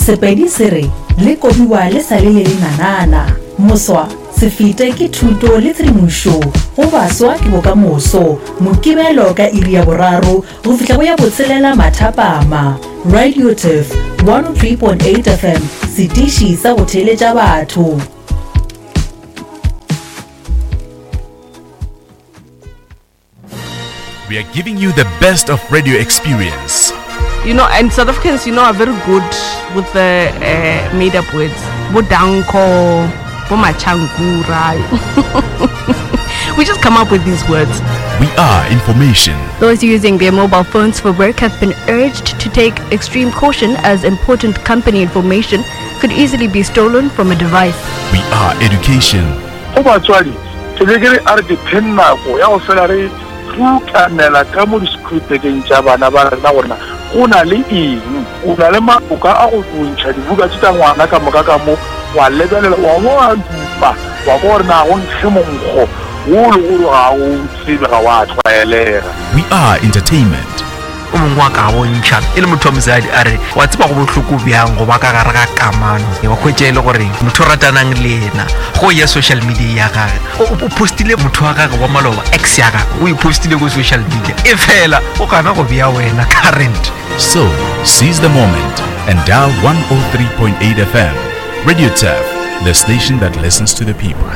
Sepedi se re, Le kobiwa le sa le le lenanana. Moswa, se fete ke thuto le tshedimošo go baswa ke bokamoso. Mokibelo ka iri ya boraro go fihla go ya botshelela mathapama. Radio Turf 103.8 FM, setiši sa go theeletša batho. We are giving you the best of radio experience. You know, and South Africans, you know, are very good with the uh, made up words. Bodanko, Bomachankura. we just come up with these words. We are information. Those using their mobile phones for work have been urged to take extreme caution as important company information could easily be stolen from a device. We are education. Go batswadi, ke be ke re a re dipheng nako ya go fela re rutanela ka mo disekhurupekeng tša bana ba rena gore na go na le eng. O na le maoka a go ntšha dibuka tše tša ngwana ka moka ka mo, wa lebelela, wa bo wa dupa, wa kwa gore na go nkge monkgo wo o lego gore ga o tsebe, ga wa tlwaelega. We are entertainment. O mongwe wa ka bontšha e le motho wa mosadi a re wa tseba go bohloko bjang go ba ka gare ga kamano wa hwetša e le gore motho o ratanang le yena go ya social media ya gage o postile motho wa gage wa maloba ex ya gage o e postile ko social media e fela o gana go bea wena current So, seize the moment and dial 103.8 FM. Radio Turf, the station that listens to the people.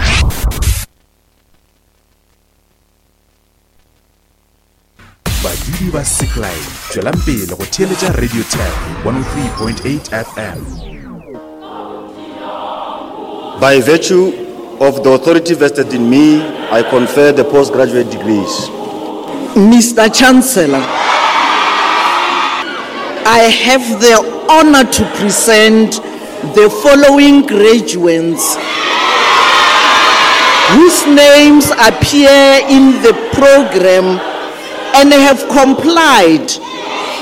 Badudi ba Seklai, tšwelang pele go theeletša Radio Tap 103.8 FM. By virtue of the authority vested in me, I confer the postgraduate degrees. Mr. Chancellor, I have the honor to present the following graduates whose names appear in the program and have complied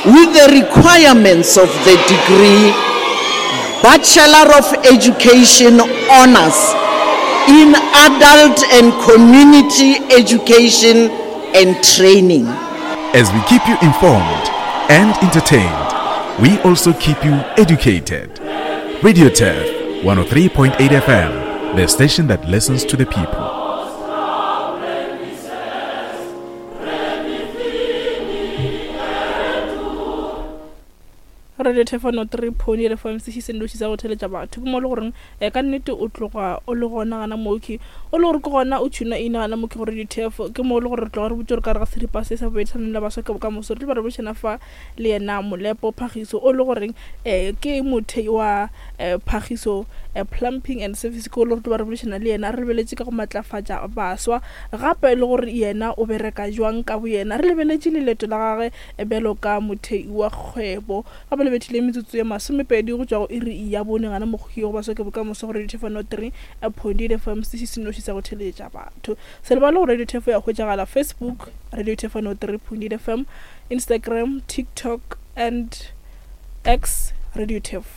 with the requirements of the degree Bachelor of Education Honors in Adult and Community Education and Training. As we keep you informed and entertained, we also keep you educated. Radio Turf 103.8 FM, the station that listens to the people. Radio Thefano 3 Pony re fm se se nnoši sa go theletša batho ke mo le goreng um ka nnete o tloga o le gona gana moki o le gore ke gona o tšhuna ina gana moki go Radio Thefo ke mo le gore re tloga re botse gore ka re ga seripa se sa bobedi sa la baswa ke bokamoso re tlo ba re bošana fa le yena Molepo Phagiso o le goreng um ke mothei wa um Phagiso um Plumping and Service ke o le gore tlo ba re boledišana le yena re lebeletše ka go matlafatša baswa gape le gore yena o bereka jwang ka boyena re lebeletše le leeto la gagwe bjalo ka mothei wa kgwebo gape le bethile metsotso ye masomepedi go tšwa go iri ya bone gana mokgoki go baswa ke bokamoso go Radio Thefano 3 point 8 FM setiši se noši sa go theletša batho se lebale go Radio Thefo ya hwetšagala Facebook Radio Thefano 3 point 8 FM Instagram, TikTok and X Radio Turf.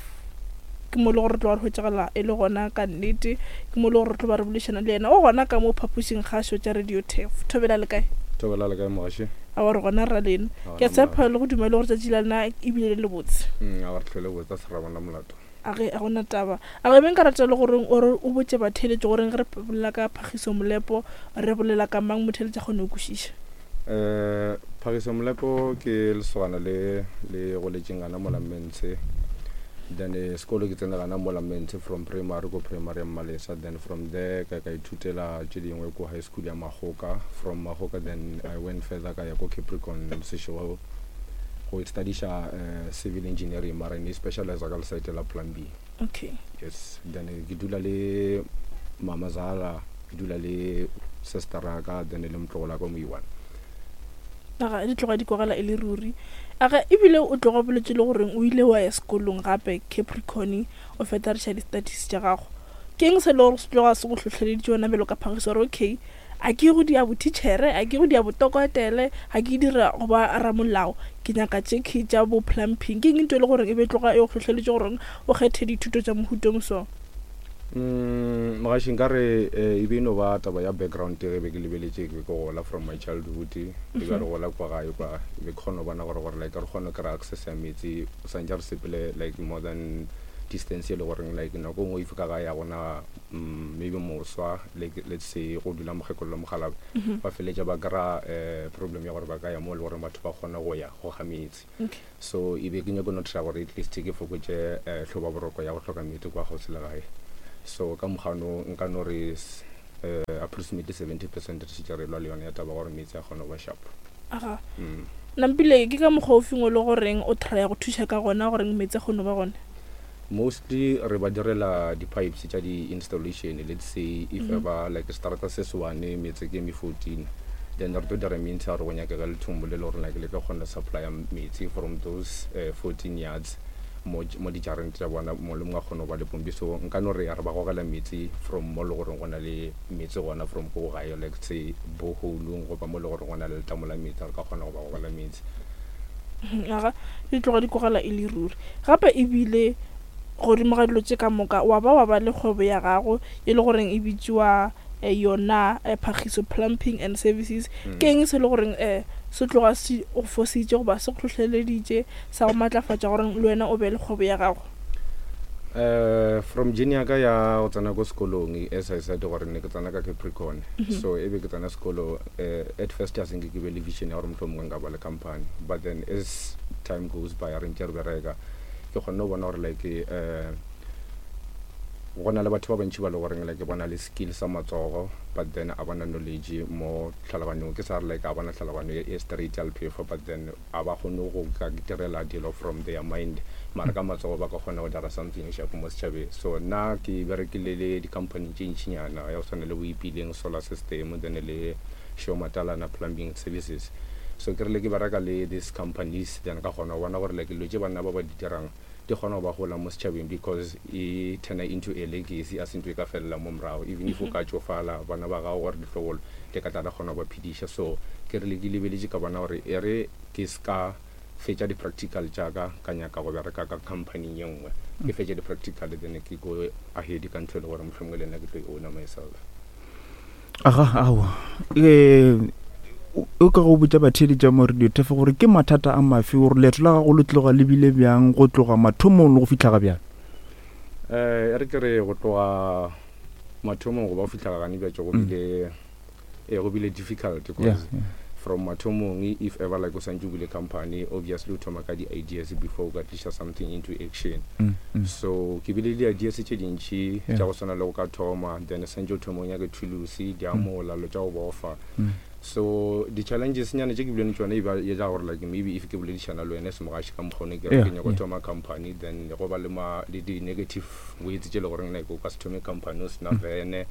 Ke mo le gore re tlo ba re hwetšagala e le gona ka nnete. Ke mo le gore re tlo ba re boledišana le yena. O gona ka mo phapošing kgašo tša Radio Turf. Thobela le kae? Thobela le kae mogaši? Awa re gona rra lena. Ke a tshepa le go dumela gore tšatši la lena ebile le lebotse. Mm, awa re tlhole botse a se ra bona molato. A ge a gona taba. A ge be nka rata le gore o re o botše batheeletši gore ge re bolela ka Phagiso Molepo re bolela ka mang motheeletši a kgone go kwešiša. Um Phagiso Molepo ke lesogana le le goletšeng gana mola Mmentshe. Then eh, sekolo ke tsene gana mola Mmentshe from primary ko primary ya Mmalesa. Then from there ka ka ithutela tše dingwe ko high school ya Magoka. From Magoka then I went further ka ya ko Capricorn Seshego go studiša uh, civil engineering mara ne specialize ka lesaete la plumbing. Okay. Yes, then eh, ke dula le mama zala, ke dula le sister ka then le motlogola ka mo iwana. Aga di tloga di kwagala e le ruri. Aga ebile o tloga boletse le goreng o ile wa ya sekolong gape Capricorn o feta re di-studies tša gago. Ke eng se le gore se tloga se go hlohleleditše wena bjalo ka phagiso gore okay a ke go dia bothitšhere a ke go dia botokotele ga ke dira go ba ramolao ke nyaka tše key tša bo plumping ke eng nto e le gore e be tloga e go hlohleletše gore o kgethe dithuto tša mohutong so Mm, mogaši nka re eh, e be e no ba taba ya background ge be ke lebeletše ke be ke gola from my childhood ke be re gola kwa gae kwa e be ke kgona go bona gore gore like re kgone go kry-a access ya metsi o santse re sepele like more than distance e le goreng like nako nngwe if ka gae ga gona mm, maybe moswa like let's say go dula mokgekolo le mokgalabje Mhm. ba feletša ba kry-a um problem ya gore ba ka ya mo e le goreng batho ba kgona go ya go ga metsi Okay. so e be ke nyako no try gore at least ke fokotše um hloba boroko ya go hloka meetse kwa kgauswi le gae so ka mokgano nka no re um approximately 70% re šetše re lwa le yone ya taba gore meetse a kgone go ba sharp Aga. mm. Nampile ke ka mokgwa o feng o le goreng o trya go thuša ka gona goreng meetse a kgone go ba gona? Mostly re ba direla di-pipes tša di-installation, let's say if Mhm. ever like seterata se se one meetse ke eme 14, then re tlo dira means ya gore go nyakega lethombo le le gore like le tlo kgona supplya metsi from those 14 yards mo mo dijareng tša bona mongwe le mongwe a kgone go ba le pompi. So nka no re re ba gogela metsi from mo le goreng go na le metsi gona from ko gae, like say borehole-ong goba mo le goreng go na le letamo la metsi, re ka kgona go ba gogela metsi. Aga di tloga di kwagala e le ruri. Gape e bile godimo ga dilo tše ka moka wa ba wa ba le kgwebo ya gago e le goreng e bitšiwa eh, yona eh, Phagiso Plumping and Services. Ke eng se le goreng eh, se tloga se go fositše goba se go hlohleleditše sa go matlafatša gore le wena o be le kgwebo ya gago? From journey ya ka ya go tsena ko sekolong, as I said gore ne ke tsena ka Capricorn, so e be ke tsena sekolo at first a senke ke be le vision ya gore mohlomongwe nka ba le company, but then as time goes by re ntše re bereka ke kgonne go bona gore like go na le batho ba bantši ba le goreng like ba na le skill sa matsogo but then a bana knowledge mo tlhaloganyong, ke sa re like a bana tlhaloganyo e straight ya lephefo, but then a ba kgone go ka direla dilo from their mind, mara ka matsogo ba ka kgona go dira something sharp mo setšhabeng. So nna ke berekile le di-company tše ntšinyana ya go tshwana le bo Ipileng Solar System, then le Show Matalana Plumbing Services. So ke rile ke bereka le these companies, then ka kgona go bona gore like dilo tše banna ba ba di dirang di kgona go ba gola mo setšhabeng, because e turna into a legacy, a se ntho e ka felela mo morago, even if o ka tšofala bana ba gago or ditlogolo di ka tla di kgona go ba phediša. So ke rile ke lebeletše ka bona gore e re ke se ka fetša di-practical tša ka ka nyaka go bereka ka company ye nngwe, ke fetše di-practical then ke go ahead ka ntho e le gore mohlomongwe le nna ke tlo e owner myself. Aga, aowa. E, o ka go botša batheeletša mo Radio Turf gore ke mathata a mafe, gore leeto la gago le tloga le bile bjang go tloga mathomong le go fihla ga bjale? Eh, e re ke re go tloga mathomong go ba go fihla gane bjatše go bile eh, go bile difficult because Yeah, yeah. from mathomong if ever like o santse o bule company, obviously o thoma ka di-ideas before o ka tliša something into action. So ke bile le di-ideas tše dintši tša go swana le go ka thoma, then santse o thoma o nyake thulusi, diamola, lo tša go bofa. So di-challenges nyana tše ke bileng le tšona e ba e tla gore like maybe if ke boledišana le wena semogaši ka mokgwa one ke re ke nyako thoma company, then go ba le ma le di-negative words tše le goreng like o ka se thome company o sena vene,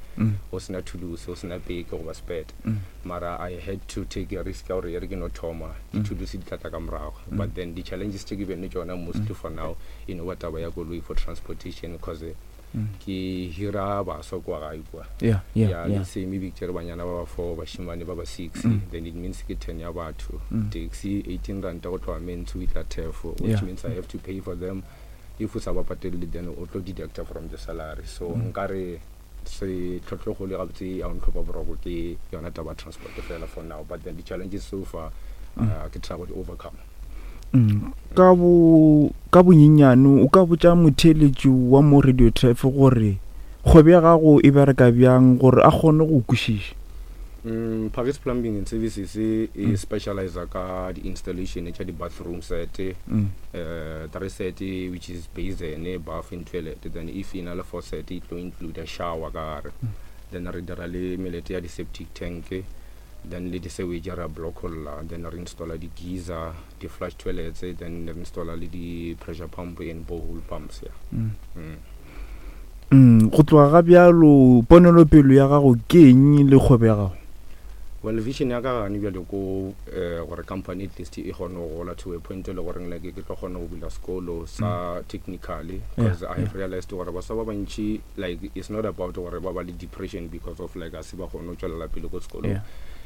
o sena thulusi, o sena peke goba spete. Mara I had to take a risk ya gore e re ke no thoma, dithulusi di tla tla ka morago. But then di-challenges tše ke bileng le tšona mostly for now e no ba taba ya koloi for transportation, cause ke hira baswa kua gae kua. Yeah, yeah, Yeah, yeah. let's say maybe ke tšere banyana ba ba 4, bašemane ba ba 6, then it means ke 10 ya batho. Taxi 18 ranta go tloga Mentsho o itla Thefo, which means I have to pay for them. If o sa ba patelele then o tlo deducta from the salary. So nkare se tlhotlhogolo gabotse ya go ntlhopa boroko ke yona taba ya transport fela for now, but then di-challenges so far ke try go di overcome. Ka bo ka bonyenyane o ka botša motheeletši wa mo Radio Turf gore kgwebo ya gago e bereka bjang gore a kgone go kwešiša? Paris Plumbing and Services e specializa ka di-installation tša di-bathroom set, three set which is basin, bath and toilet, then if e na le four set e tlo include shower ka gare. Then re dira le melete ya di-septic tank, then le di-sewage ra blockolla, then re installa di-geyser, di-flush toilets, then re installa le di-pressure pump and borehole pumps. Yeah. Go tloga ga bjalo ponelopelo ya gago ke eng le kgwebo ya gago? Well, vision ya ka gane bjale ko gore company at least e kgone go gola to a point e le goreng like ke tlo kgona go bula sekolo sa technically, because I have realized gore baswa ba bantši like it's not about gore ba ba le depression because of like a se ba kgone go tšwelela pele ko sekolong.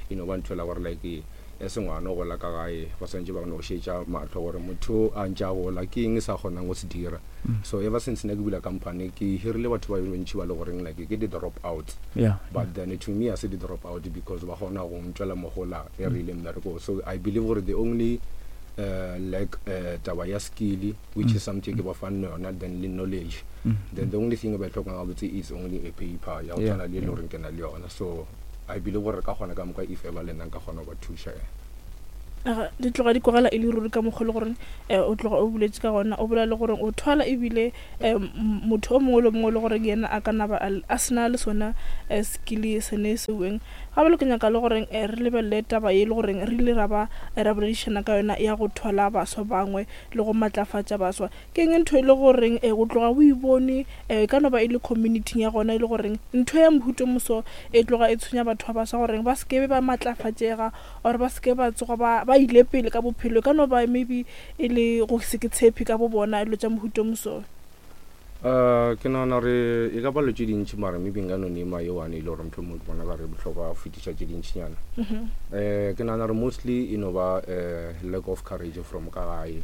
E no ba ntho e la gore like e se ngwana o gola ka gae ba swantše ba no šetša mahlo gore motho a ntše a gola ke eng e sa kgonang go se dira. So ever since ne ke bula company ke hirile batho ba bantši ba le goreng like ke di-drop outs, but then to me a se di-drop out because ba kgona go ntšwela mogola e re ile mmerekong. So I believe gore the only uh, lack uh, taba ya skill which mm. is something ke ba fang yona then le knowledge mm. then the only thing ba e tlhokang gabotse is only a paper ya go tshwana le e le goreng ke na le yona. So I believe gore re ka kgona ka moka if ever le nna nka kgona go ba thuša. Di tloga di kwagala e le ruri ka mokgwa le gore um o tloga o boletše ka gona, o bolela le gore o thwala ebile um motho o mongwe le mongwe le gore yena a ka naba a sena le sona um skill sene seweng. Ga bjale ke nyaka le gore re lebelele taba ye le goreng re ile ra ba ra boledišana ka yona ya go thwala baswa bangwe le go matlafatša baswa. Ke eng ntho e le goreng e o tloga o e bone e ka no ba e le community-ing ya gona e le goreng ntho ya mohuta o moso e tloga e tshwenya batho ba baswa goreng ba se ke be ba matlafatšega or ba se ke ba tsoga ba ba ile pele ka bophelo, e ka no ba maybe e le go se ke tshepe ka bo bona dilo tša mohuta o moso? Ke nagana gore e ka ba dilo tše dintši mara maybe nka no nema ye one e le gore mohlomongwe ke bona ka re bohlokwa go fetiša tše dintšinyana. Ke nagana gore mostly e no ba lack of courage from ka gae,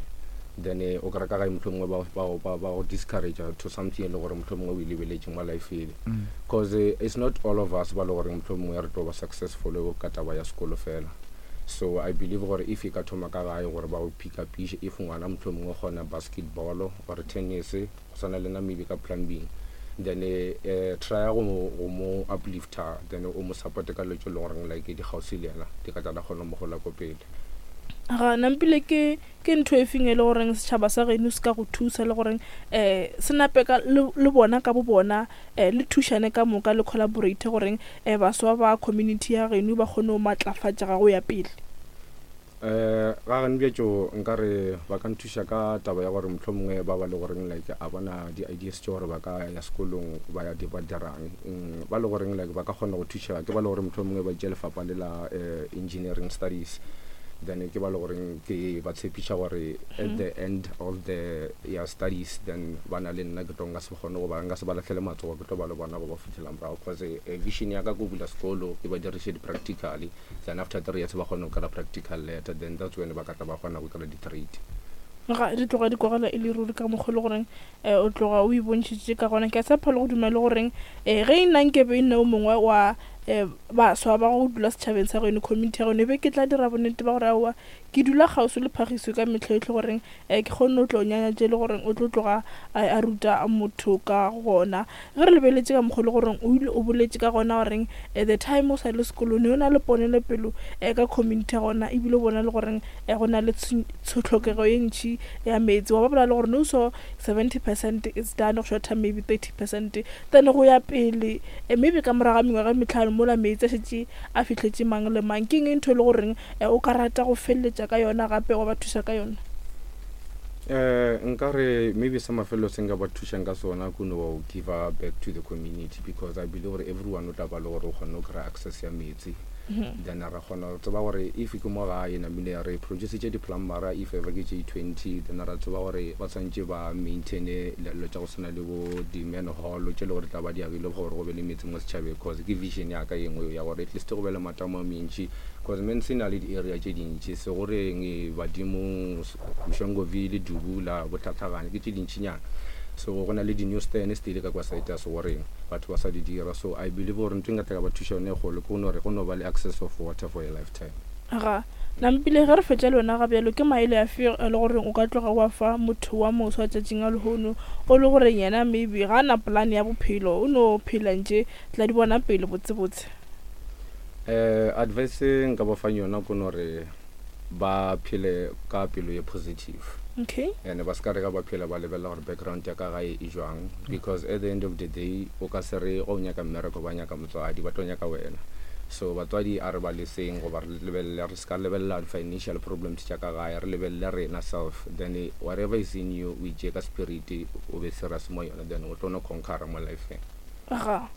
then o kry-a ka gae mohlomongwe ba go discourage to something e le gore mohlomongwe o e lebeletše mo lifeng, cause it's not all of us ba le gore mohlomongwe re tlo ba successful ka taba ya sekolo fela. So I believe gore if e ka thoma ka gae gore ba go pick upiše, if ngwana mohlomongwe o kgona basketball or tennis go swana le nna maybe ka plumbing, then try go mo uplifter, then o mo supporte ka dilo tse e leng goreng like di kgauswi le yena, di ka tla di kgona go mo gola ko pele. Ga nampile ke ke ntho e feng e le goreng setšhaba sa geno se ka go thusa le goreng um se nape ka le bona ka bo bona um le thušane ka moka le collaborate goreng um baswa ba community ya geno ba kgone go matlafatšega go ya pele? Ga gane bjatšo nka re ba ka nthuša ka taba ya gore mohlomongwe ba ba le goreng like a bona di-ideas tše gore ba ka ya sekolong ba ya ba dirang, ba le goreng like ba ka kgona go thuša ke ba le gore mohlomongwe ba tšea lefapha le la engineering studies, then ke ba le goreng ke ba tshepiša gore at the end of the ya studies then ba na le nna, ke tlo nka se kgone go ba nka se ba lahlele matsogo, ke tlo ba le bona go ba fitlhela morago, cause vision ya ka ke go bula sekolo ke ba diriše di-practically, then after 3 years ba kgone go kry-a practical letter, then that's when ba ka tla ba kgona go kry-a di-trade. Ga di tloga di kwagala e le ruri ka mokgwa le goreng um o tloga o ipontšhitše ka gona. Ke a tshepa le go dumela le goreng um ge e nna nkebe e nna o mongwe wa um baswa ba go dula setšhabeng sa geno, community ya geno, e be ke tla dira bonnete ba gore aowa ke dula kgauswi le phagiso ka mehla yohle goreng um ke kgone go tlo nyanya tše le goreng o tlo tloga a ruta motho ka gona. Ge re lebeletše ka mokgwa le goreng o ile o boletše ka gona goreng the time o sa le sekolong ne o na le ponelepelo um ka community ya gona, ebile o bona le goreng um go na le tlhokego ye ntši ya meetse, wa ba bolela le gore no so 70% is done, go shorta maybe 30%, then go ya pele um maybe ka morago ga mengwaga e metlhano mola meetse a šetše a fihletše mang le mang. Ke eng ntho e le goreng o ka rata go feleletša ka yona gape wa ba thuša ka yona? Nka re maybe sa mafelelo se nka ba thušang ka sona ke no give back to the community, because I believe gore everyone o tla ba le gore o kgonne go kry-a access ya metsi, then ra kgona go tseba gore if ke mo gae namile re producitše di-plumbera if ever ke tše 20, then ra tseba gore ba tshwanetse ba maintaine dilo tša go swana le bo di-manhole tše le gore tla ba di agile gore go be le metsi mo setšhabeng, cause ke vision ya ka ye nngwe ya gore at least go be le matamo a mentši, cause Mense e na le di-area tše dintši, Segoreng, Badimong, Mshongoville, Dubula, Botlhatlhagane, ke tše dintšinyana. So go na le di-new stand still ka kwa side ya Segoreng, batho ba sa di dira. So I believe gore ntho e nka tla ka ba thuša yone e kgolo ke go no re go no ba le access of water for a lifetime. Ga Nampile, ge re fetša le wena ga bjalo, ke maele afe e le goreng o ka tloga wa fa motho wa moswa tšatšing a lehono, o le goreng yena maybe ga a na plan ya bophelo, o no phela ntše tla di bona pele botsebotse? Advice e nka ba fang yona ke no re ba phele ka pelo ye positive. Okay. And ba se ka re ga ba phela ba lebelela gore background ya ka gae e jwang, because at the end of the day o ka se re go nyaka mmereko ba nyaka motswadi, ba tlo nyaka wena. So batswadi a re ba leseng goba re lebelele, re se ka lebelela financial problems tša ka gae, re lebelele rena self, then whatever is in you o itšee ka spirit o be serious mo yona, then o tlo no conquera mo lifeng. Ga.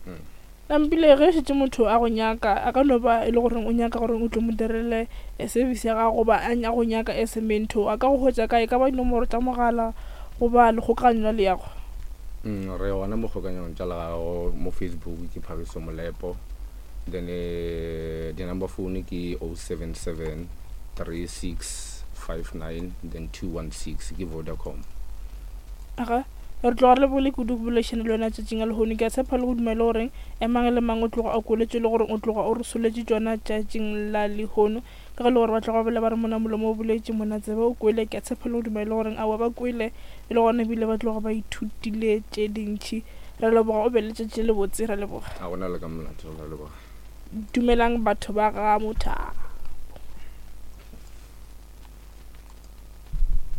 Nampile, ge šetše motho a go nyaka, a ka no ba e le gore o nyaka gore o tlo mo direle service ya gago goba a go nyaka as a mentor, a ka go hwetša kae? E ka ba dinomoro tša mogala goba lekgokaganyo la leago? Re gona mo kgokanyong tša leago mo Facebook ke Phagiso Molepo, then di-number phone ke 077 3659 then 216 ke Vodacom. Aga. Re tloga re lebogile kudu go boledišana le wena tšatšing a lehono. Ke a tshepa le go dumela gore mang le mang o tloga a kweletše le gore o tloga o re soletše tšona tšatšing la lehono. Ka ge e le gore ba tloga ba bolela ba re mona molomo o boletše, mona tsebe o kwele. Ke a tshepa le go dumela e le goreng aowa ba kwele e le gona ebile ba tloga ba ithutile tše dintši. Re a leboga, o be le letšatši le lebotse. Re a leboga. A gona le ka molato, re a leboga. Dumelang batho ba ga Mothapo.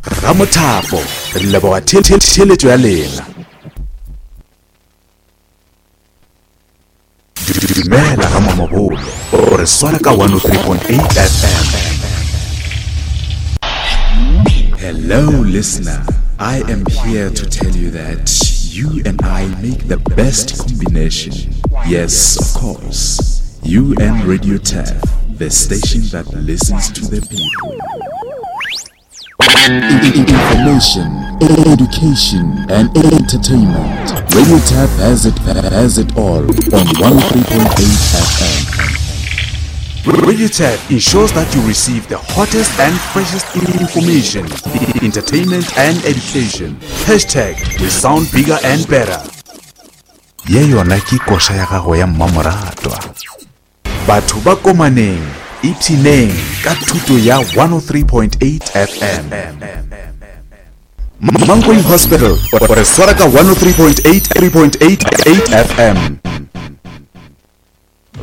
Ramothapo, re leboga theeletšo ya lena. Dumela ga Mamabolo, o re swara ka 103.8 FM. Hello listener, I am here to tell you that you and I make the best combination. Yes, of course. You and Radio Tef, the station that listens to the people. Information, education, and entertainment. Radio Tap has it, has it all on 103.8 FM. Radio Tap ensures that you receive the hottest and freshest information, entertainment, and education. Hashtag we sound bigger and better. Ye yona ke koša ya gago ya mmamoratwa. Batho ba Komaneng, ipshineng ka thuto ya 103.8 FM. Mankweng Hospital, o re swara ka 103.8 3.8 FM.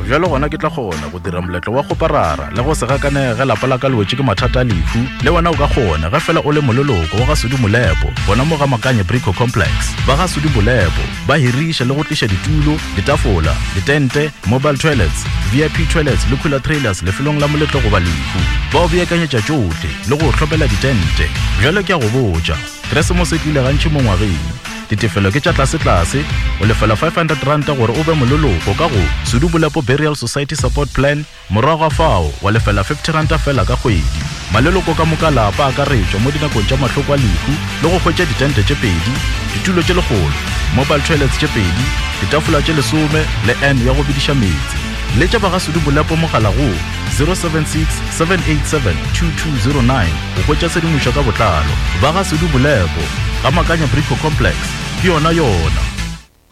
Bjalo gona ke tla kgona go dira moletlo wa kgoparara le go se gakanege ge lapa la ka le wetše ke mathata a lehu. Le wena o ka kgona ge fela o le moleloko wa ga Sudi Molepo gona mo ga Makanye Brico Complex. Ba ga Sudi Molepo ba hiriša le go tliša ditulo, ditafola, ditente, mobile toilets, VIP toilets le cooler trailers lefelong la moletlo goba lehu. Ba o beakanyetša tšohle le go o hlopela ditente. Bjale ke a go botša, Keresemose e tlile gantši mo ngwageng. Ditefelo ke tša tlasetlase, o lefela R500 gore o be moleloko ka go Sudu Bolepo Burial Society Support Plan, Morago ga fao, wa lefela R50 feela ka kgwedi. Maleloko ka moka a lapa a akaretšwa mo dinakong tša mahloko a lehu le go hwetša ditente tše pedi, ditulo tše lekgolo, mobile toilets tše pedi, ditafola tše lesome le urn ya go bediša meetse. Letša ba ga Sudu Bolepo mogala go 076 787 2209 go hwetša tshedimošo ka botlalo. Ba ga Sudu Bolepo, ga Makanya Brico Complex, ke yona yona.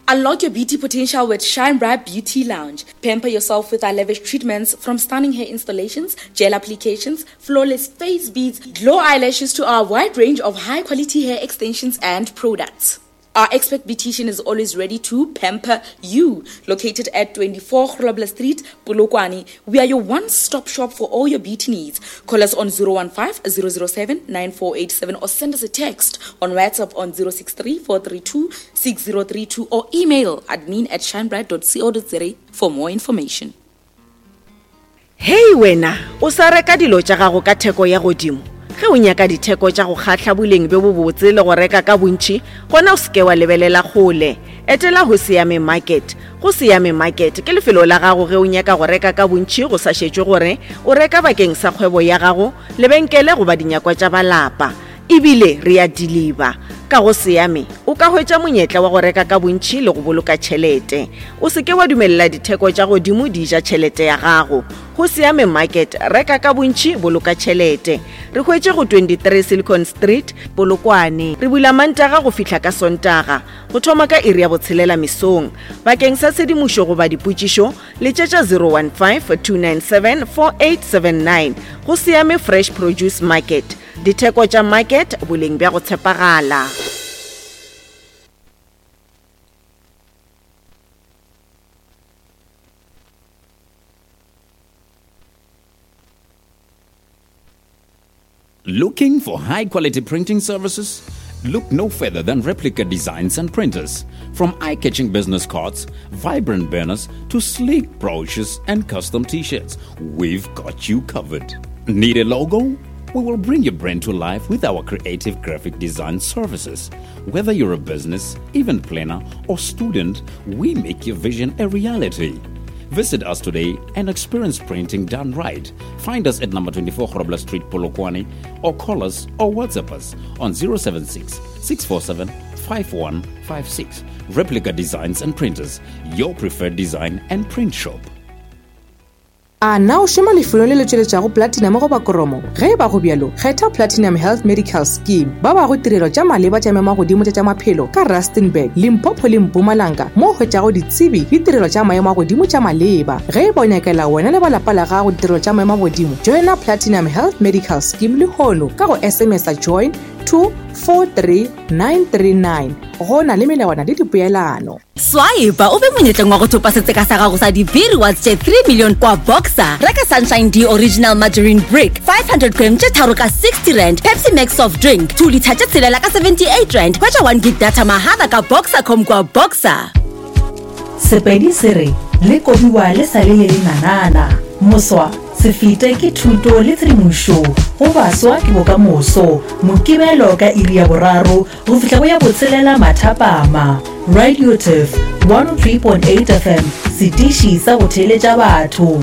Unlock your beauty potential with Shine Bright Beauty Lounge. Pamper yourself with our lavish treatments from stunning hair installations, gel applications, flawless face beads, glow eyelashes to our wide range of high quality hair extensions and products. Our expert beautician is always ready to pamper you. Located at 24 Grobler Street, Polokwane, we are your one-stop shop for all your beauty needs. Call us on 015 007 9487 or send us a text on WhatsApp on 063 432 6032 or email admin at shinebright.co.za for more information. Hei wena, o sa reka dilo tša gago ka theko ya godimo? Ge o nyaka ditheko tša go kgahla boleng bjo bobotse le go reka ka bontši, gona o se ke wa lebelela kgole. Etela Hosiame Market. Go Siame Market ke lefelo la gago ge o nyaka go reka ka bontši go sa šetšwe gore o reka bakeng sa kgwebo ya gago, lebenkele goba dinyakwa tša ba lapa. E bile re a diliba. Ka go Siame o ka hwetša monyetla wa go reka ka bontši le go boloka tšhelete. O se ke wa dumelela ditheko tša godimo di ja tšhelete ya gago. Go Siame Market, reka ka bontši, boloka tšhelete. Re hwetše go 23 Silicon Street, Polokwane. Re bula Mantaga go fihla ka Sontaga, go thoma ka iri ya botshelela mesong. Bakeng sa tshedimošo goba dipotšišo, letšetša 015 297 4879. Go Siame Fresh Produce Market. Ditheko tša market, boleng bja go tshepagala. Looking for high quality printing services? Look no further than Replica Designs and Printers. From eye catching business cards, vibrant banners, to sleek brochures and custom t shirts, we've got you covered. Need a logo? We will bring your brand to life with our creative graphic design services. Whether you're a business, event planner, or student, we make your vision a reality. Visit us today and experience printing done right. Find us at number 24 Grobler Street, Polokwane, or call us or WhatsApp us on 076 647 5156. Replica Designs and Printers, your preferred design and print shop. A na o šoma lefelong le le tšweletšago platinum goba koromo? Ge e ba go bjalo, kgetha Platinum Health Medical Scheme. Ba bago tirelo tša maleba tša maemo a godimo tša tša maphelo ka Rustenburg, Limpopo le Mpumalanga mo o hwetšago ditsebi le tirelo tša maemo a godimo tša maleba. Ge e ba o nyakela wena le ba lapa la gago ditirelo tša maemo a godimo, joina Platinum Health Medical Scheme lehono ka go SMS-a join to 43939. Go na le melawana le dipeelano. Swipe o be monyetleng wa go thopa setseka sa gago sa di-B-rewards tše 3 million kwa Boxer. Reka Sunshine D Original Margarine Brick 500 gram tše tharo ka 60 rand, Pepsi Max Soft Drink 2 litha tše tshelela ka 78 rand. Hwetša 1 gig data mahala ka Boxercom kwa Boxer. Sepedi se re le kobiwa le sa le le lenanana. Moswa, se fete ke thuto le tshedimošo go baswa ke bokamoso. Mokibelo ka iri ya boraro go fihla go ya botshelela mathapama. Radioturf 103.8 FM, setiši sa go theeletša batho.